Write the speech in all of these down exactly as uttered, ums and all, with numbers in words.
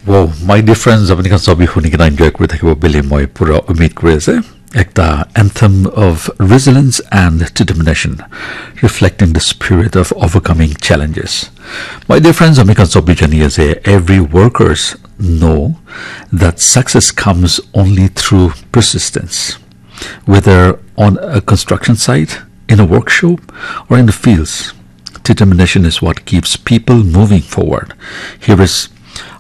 Wow, my dear friends, apni khan sobi huni kena enjoy kuri thakibo bili moi pura umid kuri ase. Ekta anthem of resilience and determination, reflecting the spirit of overcoming challenges. My dear friends, ami khan sobi jani ase, every workers know that success comes only through persistence. Whether on a construction site, in a workshop, or in the fields, determination is what keeps people moving forward. Here is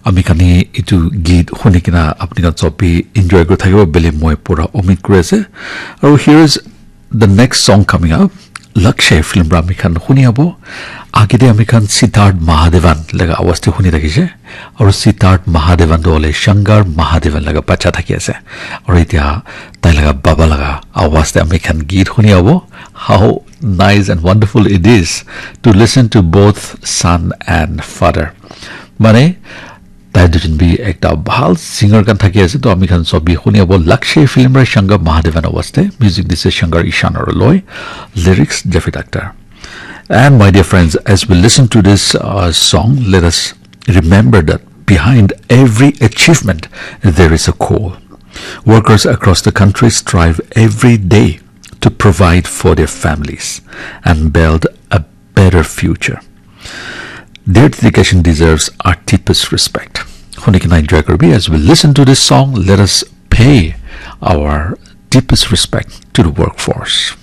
ami khan itu geet huni kena apni khan sobi enjoy kuri thakibo bili moi pura umid kuri ase. Aru here is the next song coming up. Lakshay film pra ami khan huni abo. Agede ami khan Siddharth Mahadevan laga awaz te huni thakise. Aru Siddharth Mahadevan to hole Shankar Mahadevan laga bacha thaki ase. Aru etia tai laga baba laga awaz te ami khan geet huni abo. How nice and wonderful it is to listen to both son and father. Mane, tai dujon bi ekta bhal singer khan thaki ase, to ami khan sobi huni abo. Lakshay film ra Shankar Mahadevan awaz te, music dise Shankar Ishan aru loi, lyrics Javed Akhtar. And my dear friends, as we listen to this uh, song, let us remember that behind every achievement there is a call. Workers across the country strive every day to provide for their families and build a better future. Their dedication deserves our deepest respect. Huni kena enjoy kuri bi, as we listen to this song, let us pay our deepest respect to the workforce.